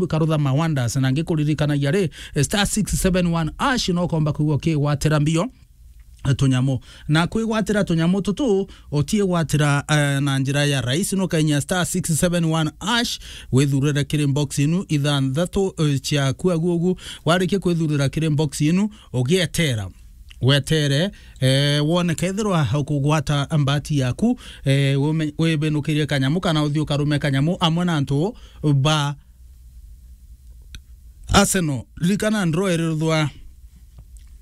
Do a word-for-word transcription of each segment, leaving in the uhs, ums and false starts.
Karutha ma wonders, na ngikuririkanagia ri, star six seven one hash no komba kwigua ukigwatira mbio tunyamu. Na kwigwatira tunyamu tutu, utigwatira, eh, na njira ya rahisi, no kainya star six seven one hash, withurire kiri box inu ithanthatu, eh, ciaku agugu. Warikia kwithurira kiri box inu, ugietera. Wetere, eh, wone kethirwa ukugwata mbati yaku, eh, wime-, wibinukirie kanyamu kana uthii ukarume kanyamu amwe na antu ba Arsenal. Ririkana draw iriruthwa,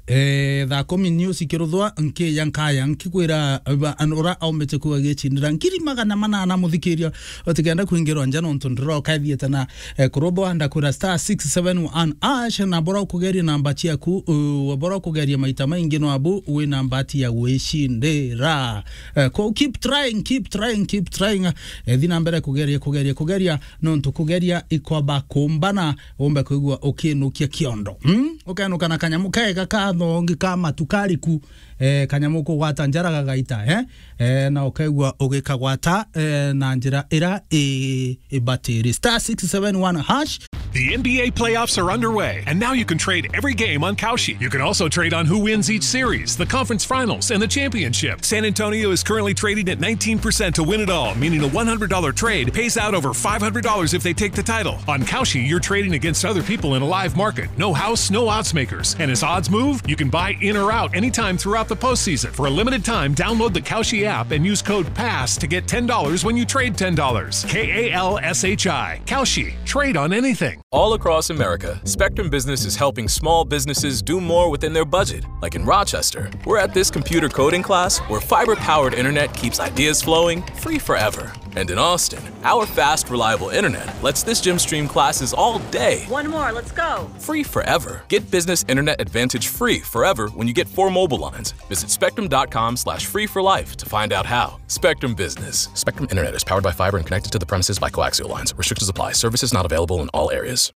eh, thaa kumi news ikiruthwa, nkiya nkaya, nkikwira ba-, an-, ura aumite kuga gicindira ngiri magana manana, muthikiria, utikenda kwingirwa nja nontu draw kaithiete na, eh, kuruthwa. Ndakwira star six seven one hash, na bora ukugeria namba ciaku, uh, bora ukugeria maita maingi no abu wi na mbati ya gwicindira. Eh, ko-, keep trying, keep trying, keep trying. Eh, thi na mbere kugeria, kugeria, kugeria, nontu kugeria ikwamba kumbana, umbe kwigua ukinukia kiondo. Hmm? Ukenuka na kanyamu kega ka thongi ka matu kariku, eh, kanyamu kugwata njara gagaita, eh? Eh, na ukaigua ugikagwata, eh, na njira ira i-, ibatiri. Star six seven one hash. The N B A playoffs are underway, and now you can trade every game on Kalshi. You can also trade on who wins each series, the conference finals, and the championship. San Antonio is currently trading at nineteen percent to win it all, meaning a one hundred dollar trade pays out over five hundred dollars if they take the title. On Kalshi, you're trading against other people in a live market. No house, no odds makers. And as odds move, you can buy in or out anytime throughout the postseason. For a limited time, download the Kalshi app and use code PASS to get ten dollars when you trade ten dollars. K A L S H I. Kalshi. Trade on anything. All across America, Spectrum Business is helping small businesses do more within their budget. Like in Rochester, we're at this computer coding class where fiber-powered internet keeps ideas flowing free forever. And in Austin, our fast, reliable internet lets this gym stream classes all day. One more, let's go. Free forever. Get business internet advantage free forever when you get four mobile lines. Visit spectrum dot com slash free for life to find out how. Spectrum Business. Spectrum Internet is powered by fiber and connected to the premises by coaxial lines. Restrictions apply. Services not available in all areas.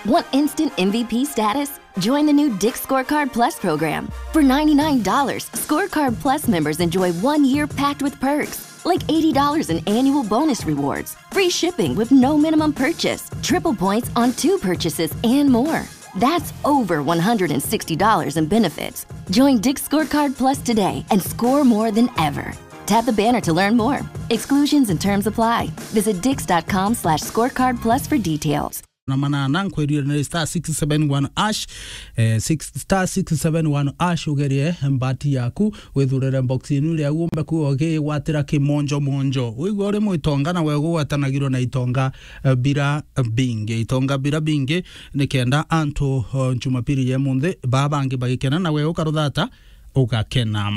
Want instant M V P status? Join the new Dick's Scorecard Plus program. For ninety-nine dollars, Scorecard Plus members enjoy one year packed with perks, like eighty dollars in annual bonus rewards, free shipping with no minimum purchase, triple points on two purchases, and more. That's over one hundred sixty dollars in benefits. Join Dick's Scorecard Plus today and score more than ever. Tap the banner to learn more. Exclusions and terms apply. Visit dicks dot com slash scorecard plus for details. Na manana, nkwirire ni star six seven one hash, eh, six, star six seven one hash, ugerie mbati yaku, withurire box inu iria umbe kuo ugigwatira kimonjo monjo. Wigua uri mwitonga na we ugwatanagirwo na itonga, eh, bira bingi. Itonga bira bingi, ni kenda antu, oh, Jumapili ya munthi, baa bangi bagikena na we ukaruthata, ugakena.